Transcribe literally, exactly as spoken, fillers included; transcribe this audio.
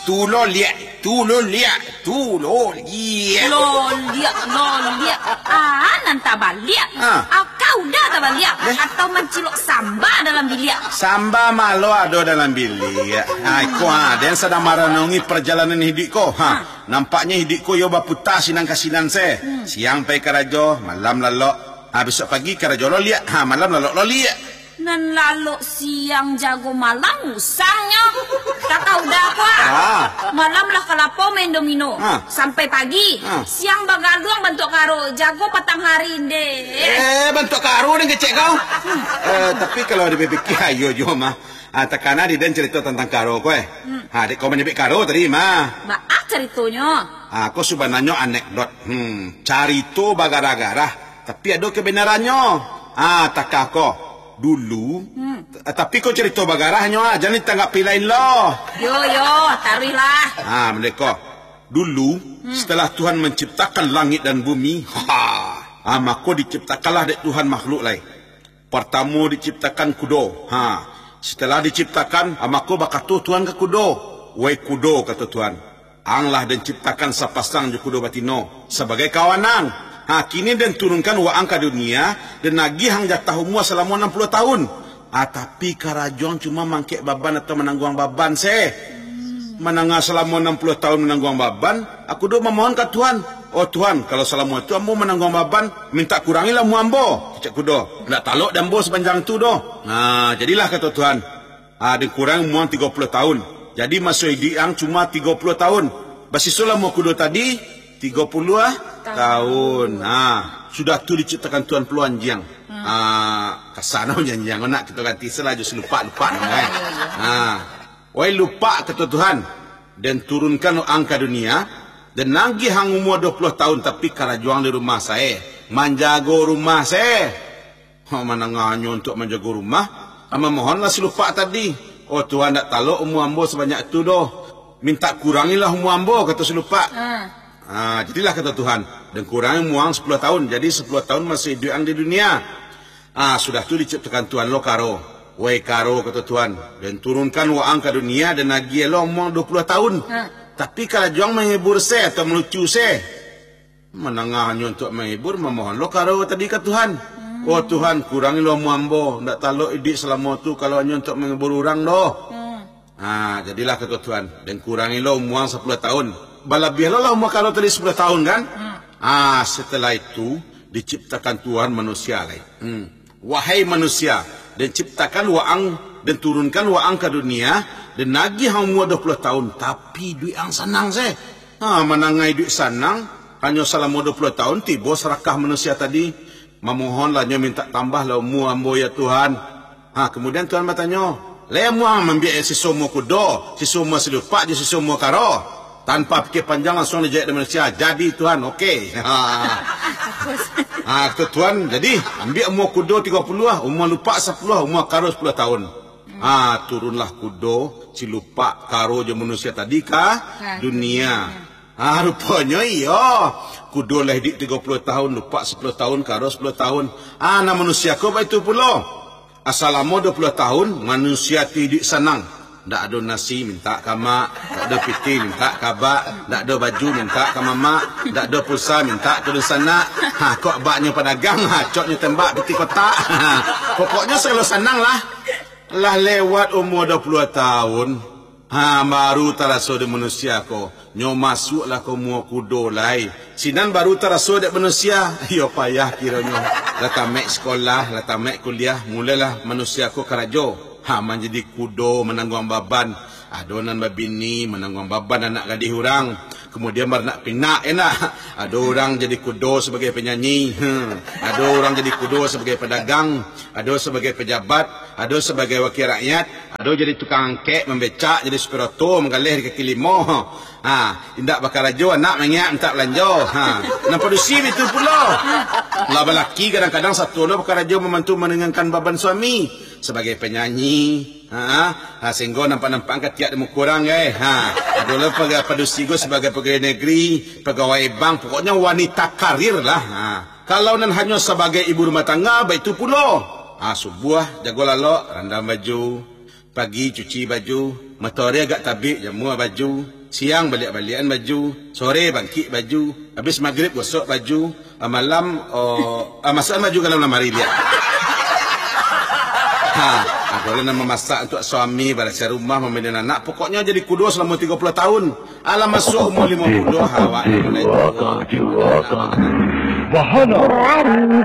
Tu lo liak, tu lo liak, tu lo liak. Lo liak, lo liak. Ah, nan tabaliak. Ah. Aka udah tabaliak. Eh? Atau mancilok samba dalam biliak. Samba malo ado dalam biliak. Ha, iko ha, den sadang maranungi parjalanan hiduik ko. Ha, nampaknyo hiduik ko yo baputa sinan ka sinan se. Hmm. Siang pai karajo, malam lalok. Ha, besok pagi karajo lo liak. Ha, malam lalok lo liak. Nan lalok siang jago malam usangnyo. Takah udah ko ah. Ah. Malam lah ka lapau main domino. Ah. Sampai pagi. Ah. Siang bagaluang bantuak karo, jago patang hari ndeh. Eh, bantuak karo den kecek kau. Eh, tapi kalau dipikia, iyo juo mah. Ah, takana di den carito tantang karo ko eh. Hmm. Ha, dek kau manyabik karo tadi mah. Baa caritonyo? Ah, ko subananyo anekdot. Hmm, carito bagarah-garah. Tapi ado kebenarannyo. Ah, takah ko. Dulu. Hmm. T-, tapi ko carito bagarahnyo ah, jan ditanggapi lain lo. Yo, yo, taruihlah. Ah, mode ko. Dulu, hmm, setelah Tuhan menciptakan langit dan bumi, ha, ah, mako diciptakanlah dek Tuhan makhluk lai. Partamo diciptakan kudo. Ha, setelah diciptakan, ah, mako bakato Tuhan ka kudo, "Wai kudo," kato Tuhan, "ang lah den ciptakan sapasang jo kudo batino sabagai kawan ang. Ha, kini den turunkan waang ka dunia, den agiah ang jatah umua salamo anam puluah tahun. Ah, tapi karajo ang cuma mangkek baban atau manangguang baban se." Mandanga salamo anam puluah tahun manangguang baban, ah, kudo mamohon ka Tuhan, "Oh Tuhan, kalau salamo tu ambo manangguang baban, mintak kurangilah umua ambo," kecek kudo. "Ndak talok di ambo sapanjang tu doh." Nah, jadilah kato Tuhan, "Ah, den kurangi umua ang tigo puluah tahun. Jadi maso iduik ang cuma tigo puluah tahun. Basiso lah umua kudo tadi, tigo puluah tahun." Ah, sudah tu diciptakan Tuhan pulo anjiang. Hmm. Ah, kasano anjiang, nak kito ganti salah jo si lupak-lupak namo eh. Ah. "Wai lupak," kato Tuhan, "den turunkan ang ka dunia, den agiah ang umua duo puluah tahun, tapi karajo ang di rumah sae, manjago rumah sae." Ha, manangahnyo untuak manjago rumah, ah, mamohonlah si lupak tadi, "Oh Tuhan, ndak talok umua ambo sabanyak tu doh. Mintak kurangilah umua ambo," kato si lupak. Ah. Ah, jadilah kato Tuhan, "Den kurangi umua ang sapuluah tahun, jadi sapuluah tahun maso iduik ang di dunia." Ah, sudah tu diciptakan Tuhan lo karo. "Wai karo," kato Tuhan, "den turunkan waang ka dunia, den agiah lo umua ang duo puluah tahun. Ah. Tapi karajo ang manghibur se atau malucu se." Manangahnyo untuak manghibur, mamohon lo karo tadi ka Tuhan. Hmm. "Oh Tuhan, kurangi lo umua ambo, ndak talok iduik salamo tu kalau hanyo untuak manghibur urang doh." Hmm. Ah, jadilah kato Tuhan, "Den kurangi lo umua ang sapuluah tahun. Balabiah lo lah umua karo tadi sapuluah tahun kan?" Hmm. Ah, setelah itu diciptakan Tuhan manusia lai. Hmm. "Wahai manusia, den ciptakan waang, den turunkan waang ka dunia, den agiah ang umua duo puluah tahun, tapi iduik ang sanang se." Ha, manangahi iduik sanang, hanyo salamo duo puluah tahun, tibo sarakah manusia tadi. Mamohonlah nyo mintak tambahlah umua ambo, ya Tuhan. Ha, kemudian Tuhan batanyo, "Lai amuah mambiak siso umua kudo, siso umua silupak, jo siso umua karo?" Tanpa pikir panjang, langsuang dijawek dek manusia, "Jadi, Tuhan, oke." Ha. Ha, kata Tuhan, "Jadi, ambiak umua kudo tigo puluah, umua lupak sapuluah, umua karo sapuluah tahun." Ha, turunlah kudo, silupak, karo, jo manusia tadi ka dunia. Ha, ruponyo iyo. Kudo lah iduik tigo puluah tahun, lupak sapuluah tahun, karo sapuluah tahun. Ha, nan manusia ko baitu pulo. Asalamo duo puluah tahun, manusia tu iduik sanang. Ndak ado nasi, mintak ka mak. Ndak ado pitih, mintak ka abak. Ndak ado baju, mintak ka mamak. Ndak ado pulsa, mintak ka dunsanak. Ha, kok abaknyo padagang, ha, coknyo tembak pitih kotak. Ha, pokoknyo sagalo sanang lah. Lah lewat umua duo puluah tahun, ha, baru taraso dek manusia ko. Nyo masuaklah ka umua kudo lai. Sinan baru taraso dek manusia. Iyo payah kironyo. Lah tamaik sikolah, lah tamaik kuliah, mulailah manusia ko karajo. Ha, manjadi kudo, manangguang baban. Ado nan babini, manangguang baban anak gadih urang. Kemudian baranak pinak, yo ndak? Ado urang jadi kudo sabagai panyanyi. Hmm. Ado urang jadi kudo sabagai padagang. Ado sabagai pejabat, ado sabagai wakil rakyat, ado jadi tukang angkek, mambecak, jadi supir oto, manggaleh di kaki limo. Ha, indak bakarajo, anak mangiak mintak balanjo. Ha, nan padusi baitu pulo. Lah balaki kadang-kadang satuo lo bakarajo mambantu maringankan baban suami. Sabagai panyanyi, ha, ha, sahinggo nampak-nampak katiak di muko urang, eh. Ha, ado lo paga-, padusi ko sabagai pagawai negeri, pagawai bank, pokoknyo wanita karir lah. Ha. Kalau nan hanyo sabagai ibu rumah tangga, baitu pulo. Ah, subuah jago lalok, randam baju. Pagi cuci baju. Matoari agak tabik, jamua baju. Siang baliak-baliakan baju, sore bangkik baju, habis magrib gosok baju, ah, malam, oh, ah, masuakan baju ka dalam lamari liak. Ha, ado lah nan mamasak untuak suami, barasiah rumah, mamandai anak, pokoknyo jadi kudo salamo tigo puluah tahun. Alah masuak umua limo puluah, awak nan mulai tuo. Bahana.